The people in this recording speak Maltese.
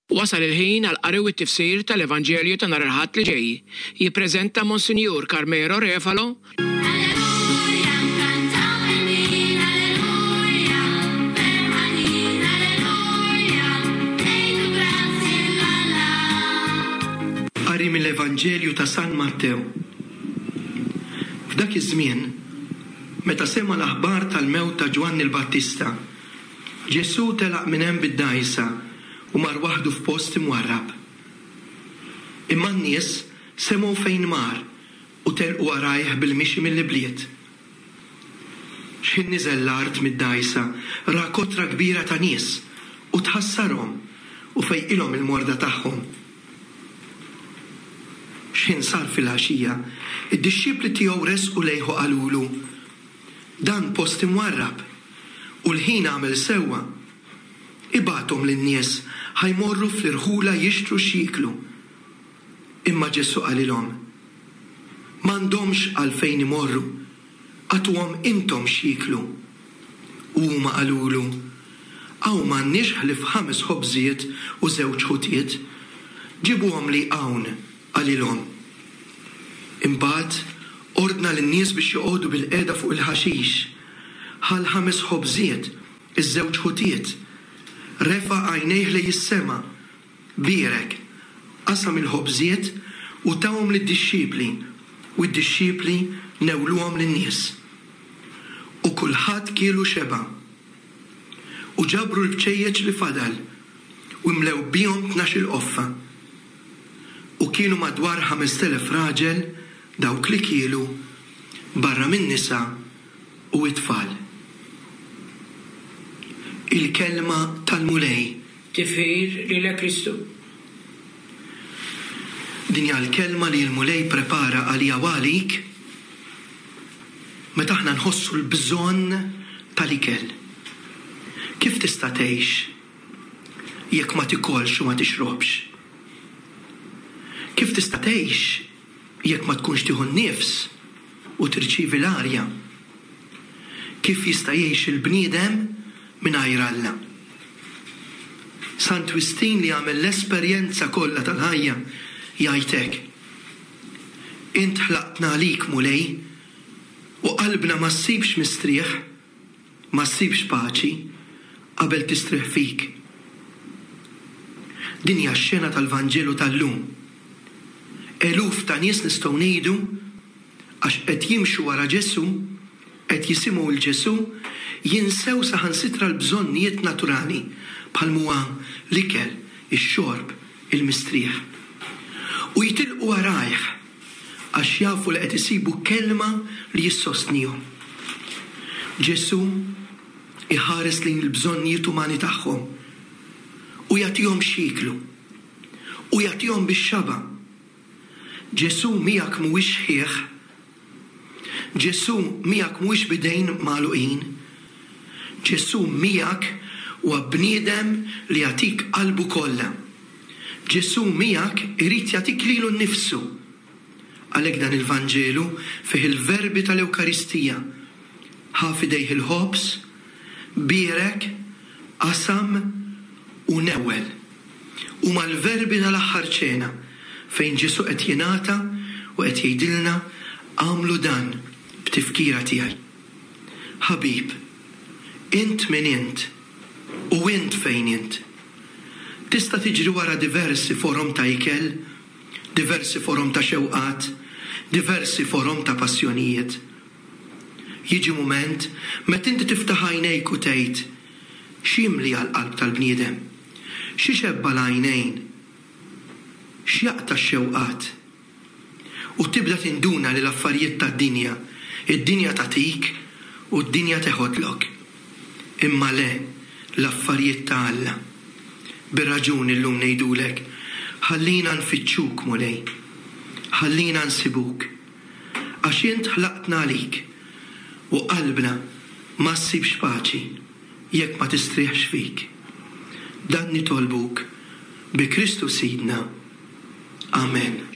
Wasal il-ħin għall-qari u t-tifsir tal-Evanġelju ta' nhar il-Ħadd li ġej. Jippreżenta Monsinjur Carmelo Refalo. Alleluja, nkantaw il-min, alleluja, ferħanin, alleluja, ngħidu grazzi 'l Alla. Qari mill-Evanġelju ta' San Mattew. F'dak iż-żmien, meta sema' l-aħbar tal-mewt ta' Ġwanni l-Battista, Ġesù telaq minn hemm bid-dgħajsa u mar waħdu f'post imwarrab. Imma n-nies semgħu fejn mar u telqu warajh bil-mixi mill-ibliet. X'ħin niżel l-art mid-dgħajsa, ra kotra kbira ta' nies u tħassarhom u fejqilhom il-morda tagħhom. X'ħin sar filgħaxija, id-dixxipli tiegħu resqu lejh u qalulu, Dan post imwarrab, u l-ħin għamel sewwa. Ibgħathom lin-nies ħa jmorru fl-irħula jixtru x'jieklu. Imma Ġesù qalilhom, M'għandhomx għalfejn imorru, agħtuhom intom x'jieklu. U huma qalulu, Hawn m'għandniex ħlief ħames ħobżiet u żewġ ħutiet. Ġibuhomli hawn, qalilhom. Imbagħad ordna lin-nies biex joqogħdu bilqiegħda fuq il-ħaxix. Ħa l-ħames ħobżiet, iż-żewġ ħutiet, refa' għajnejh lejn is-sema, bierek, qasam il-ħobżiet u tahom lid-dixxipli, u d-dixxipli newluhom lin-nies. U kulħadd kiel u xeba'. U ġabru l-bċejjeċ li fadal, u imlew bihom 12-il qoffa. U kienu madwar 5,000 raġel dawk li kielu, barra min-nisa u t-tfal. Il-Kelma tal-Mulej. Tifħir lilek Kristu. Din hija l-Kelma li l-Mulej prepara għalija u għalik meta aħna nħossu l-bżonn tal-ikel. Kif tista' tgħix jekk ma tikolx u ma tixrobx? Kif tista' tgħix jekk ma tkunx tieħu n-nifs u tirċievi l-arja? Kif jista' jgħix il-bniedem mingħajr Alla? Sant Wistin li għamel l-esperjenza kollha tal-ħajja jgħid hekk, Int ħlaqtna għalik, Mulej, u qalbna ma ssibx mistrieħ Ma ssibx paċi qabel tistrieħ fik. Din hija x-xena tal-Vanġelu tal-lum. Eluf ta' nies nistgħu ngħidu, għax qed jimxu wara Ġesù, qed jisimgħu 'l Ġesù, jinsew saħansitra l-bżonnijiet naturali bħal m'huwa l-ikel, ix-xorb, il-mistrieħ. U jitilqu warajh. Għax jafu li qed isibu kelma li issostnihom. Ġesù jħares lejn il-bżonnijiet umani tagħhom u jagħtihom x'jieklu. U jagħtihom bix-xaba'. Ġesù miegħek mhuwiex xħiħ. Ġesù miegħek mhuwiex b'idejn magħluqin. Ġesù miegħek huwa bniedem li jagħtik qalbu kollha. Ġesù miegħek irid jagħtik lilu nnifsu. Għalhekk dan il-Vanġelu fih il-verbi tal-Ewkaristija, ħa f'idejh il-ħobż, bierek, qasam u newwel. Huma l-verbi tal-Aħħar Ċena fejn Ġesù qed jingħata u qed jgħidilna agħmlu dan b'tifkira tiegħi. Ħabib, int min int u int fejn int. Tista' tiġri wara diversi forom ta' ikel, diversi forom ta' xewqat, diversi forom ta' passjonijiet. Jiġi mument meta inti tiftaħ għajnejk u tgħid, X'jimli għall-qalb tal-bniedem? X'ixebba' l-għajnejn? X'jaqta' x-xewqat? U tibda tinduna li l-affarijiet tad-dinja, id-dinja tagħtik u d-dinja teħodlok. Imma le, l-affarijiet ta' Alla. Bir-raġun illum ngħidulek, ħallina nfittxuk, Mulej. Ħallina nsibuk. Għax int ħlaqtna għalik, u qalbna ma ssibx paċi jekk ma tistrieħx fik. Dan nitolbuk bi Kristu Sidna. Amen.